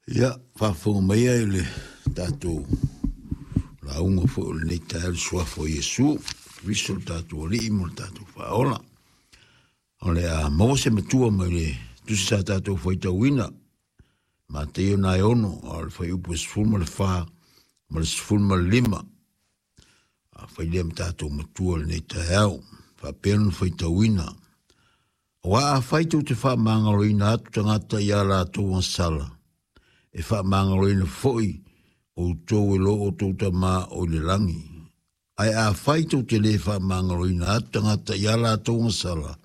Ia, faafofoga mai ia i le tatou lauga foi o lenei taeao i le suafa o Iesu, Keriso le tatou Alii ma le tatou Faaola. O le a maua se matua mai le tusi sa tatou faitauina, Mateio na e 6, a o le fuaiupu e 14 ma le 15. A fai lea ma tatou matua i lenei taeao, faapea ona faitauina. Aua afai tou te faamagaloina atu tagata i a latou agasala, e faamagaloina foi outou e lo outou Tama o i le lagi. Ae afai tou te le faamagaloina atu tagata i a latou agasala,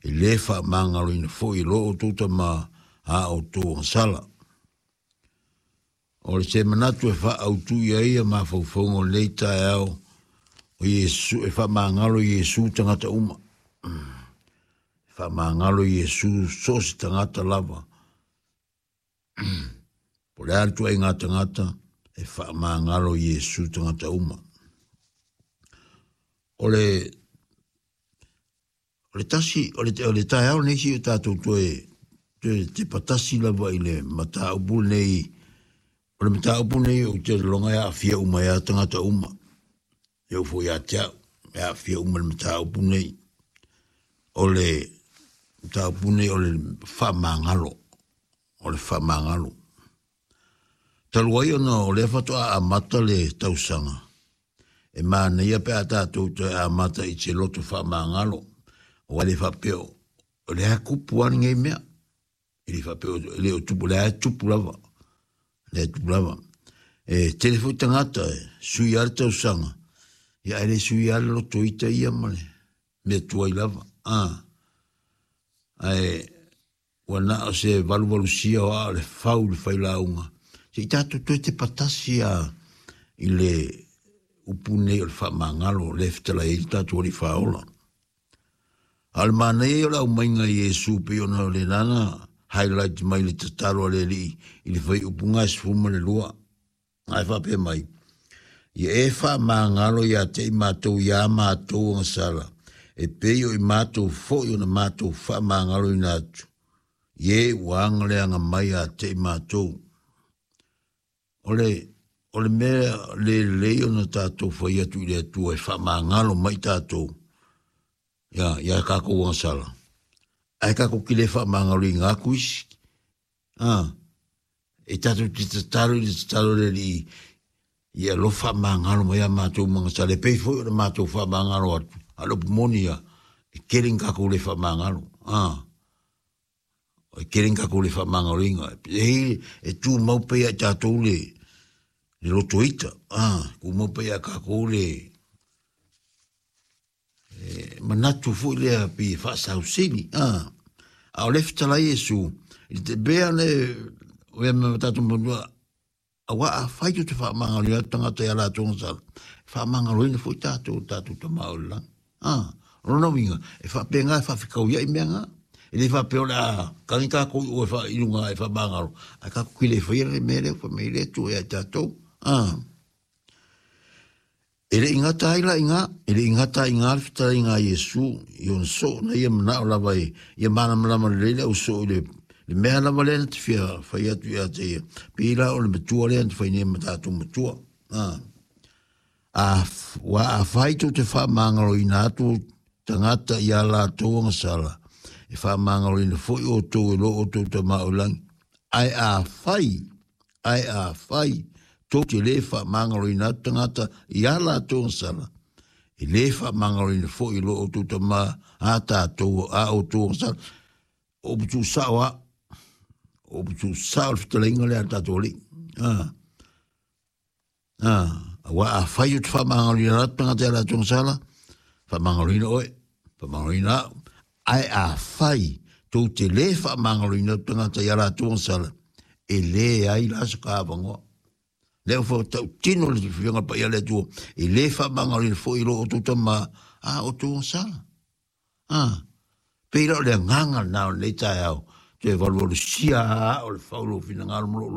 e le faamagaloina foi e lo outou Tama a outou agasala. O se manatu e faaautu i ai ia mafaufauga o lenei taeao, o Iesu, e faamagalo Iesu tagata uma. E faamagalo Iesu so o se tagata lava. Po o le a le ituaiga tagata, e faamagalo Iesu tagata uma. O le O le tasi, o le, o le taeao lenei si o tatou toe, toe tepa tasi lava i le mataupu lenei. O le mataupu lenei ou te lologa e aafia uma ai lava tagata uma. E oo foi ia te au, e aafia uma i le mataupu lenei. O le mataupu lenei o le faamagalo, o le faamagalo. Talu ai ona o lea faatoa amata le tausaga, e manaia pe a tatou toe amata i se loto faamagalo, aua e le faapea o lea e tupu lava lenei mea. E le faapea e le o tupu, o lea e tupu lava. O lea e tupu lava. E tele foi tagata e sui lava le tausaga, ia ae le sui lava le loto ita ia ma le mea tuai lava. Ae Ua na o se valuvalusia o aa o le fau i le failauga, se i tatou toe tepa tasi a i le upu nei o le faamagalo lea e fetalai ai le tatou Alii Faaola. A o le manaia ia o le aumaiga i Iesu pei ona o le lana highlight mai le tatalo a le Alii i le fuaiupu ga e 12. Ae faapea mai, Ia e faamagalo ia te i matou i a matou agasala, e pei o i matou foi ona matou faamagaloina atu, i e ua agaleaga mai ia te i matou. O le, o le mea le lelei ona tatou fai atu i le Atua e faamagalo mai tatou ia, ia tatou agasala, ae tatou te le faamagaloina atu isi. A, e tatou te tatalo i le tatalo a le Alii, ia alofa faamagalo mai a matou magasala, e pei foi ona matou faamagalo atu, a o le upu moni ia, e tele ni tatou le faamagalo, a, e tele ni tatou le faamagaloina, e, e tumau pea ia i tatou le, le loto ita, a, tumau pea ia i tatou le, E manatu foi lea pei e faasausili, a. A o lea e fetalai Iesu, i te mea lea o ea ma tatou manua, aua afai tou te faamagaloina atu tagata i a latou agasala, e faamagaloina foi tatou e tatou Tama o i le lagi. A, o lona uiga, e faapena e faafetauiai mea na. E le faapea o le a tagi tatou i o e i luga e faamagalo, ae tatou te le faia le mea lea ua fai mai ai le Atua ia i tatou. A. E le i gata ai la i ina, e le i gata ai i ina le fetalaiga a Iesu i ona soo na ia manao lava e ia malamalama lelei le ausoo i le, le mea lava lea na te fia fai atu ia te ia. Pei la o le matua lea na te fai nei ma tatou matua. A, a, ua afai tou te faamagaloina atu tagata i a latou agasala, e faamagaloina foi outou e lo outou Tama o i lagi. Ae afai Ae afai tou te le faamagaloina atu tagata i a latou agasala, e le faamagaloina foi e lo outou Tama a tatou a outou agasala. O upu tuusao a, o upu tuusao le fetalaiga lea a le tatou Alii. Ah. Ah, aua afai ou te faamagaloina atu tagata i a latou agasala, faamagaloina oe, faamagaloina au. Ae afai tou te le faamagaloina atu tagata i a latou agasala, e leai la se avanoa. Lea ua tautino le Afioga Paia a le Atua, e le faamagaloina foi i lo outou tama a outou agasala. Ah, pei la o le agaga lena o lenei taeao, toe valuvalusia aa o le fau lou finagalo ma lou loto.